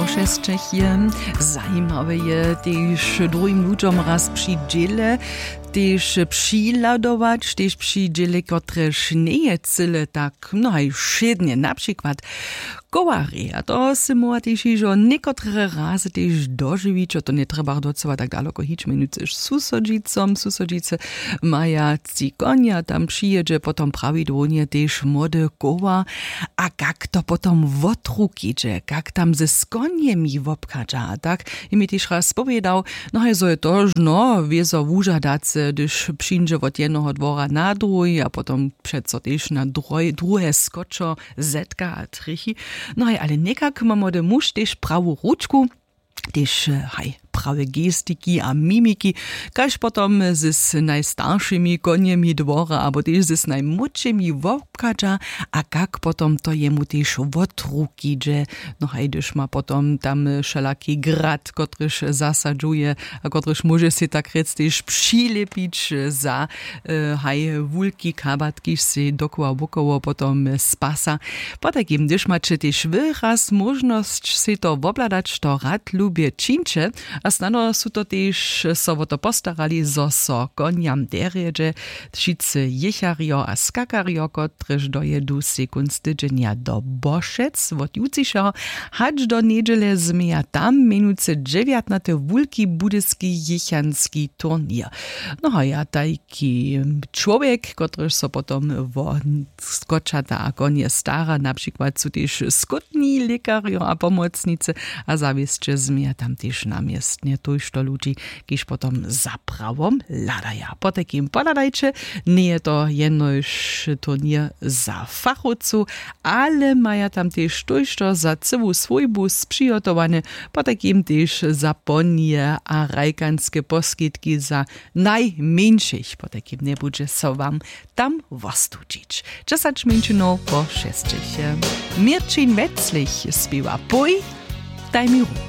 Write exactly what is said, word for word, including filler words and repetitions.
Přesćech je zajimawe je tež druhim ludźom raz při dźěle tež přihladować tež při dźěle kotrež njeje cyle tak no haj wšědnje na přikład kołarje a to sy móhła tež hižo někotre razy tež dožiwić a to njetrjeba docyła tak daloko hić mjenujcy susodźicom susodźicy maja tci konja tam přijědźe potom prawidłownje tež młody koła a kak to potom wotrukidźe kak tam ze skonjemi wobchadźa a tak je mi tež raz powědał no haj zo je to žno wězo wužadace hdyž přińdźe wot jednoho dwora na druhi a potom přeco tež na druhe skočo zetka a trjechi no haj ale někak ma młody muž tež prawu ručku tež haj prawe gestiki a mimiki kaž potom z najstaršimi konjemi dwora abo tež z najmłódšimi wobchadźa a kak potom to jemu tež wot ruki dźe no haj hdyž ma potom tam wšelaki grad kotryž zasadźuje a kotryž móže sej tak rjec tež přilěpić za haj wulki kabat kiž sej dokoła wokoło potom spasa potajkim hdyž maće tež wy raz móžnosć sej to wobhladać to rad lubje čińće a snano su to tež so wo to postarali zo so konjam derjedźe wšitcy jěcharjo a skakarjo kotrež dojedu sej kónc tydźenja do bošec wot jutřišeho hač do njedźele změja tam mjenujcy dźewjatnaty wulki budyski jěchanski turněr no a ja tajki čłowjek kotryž so potom wo skočata a konje stara na přikład su tež skótni lěkarjo a pomocnicy a zawěsće změja tam tež na městnje tójšto ludźi kiž potom za prawom hladaja potajkim pohladajće njeje to jenož turněr za fachowcow ale maja tam tež tójšto za cyłu swójbu přihotowane potajkim tež za ponije a hrajkanske poskitki za najmjeńšich potajkim njebudźe so wam tam wostučić dźesać mjeńšinow po šesćich měrćin weclich spěwa pój daj mi ruku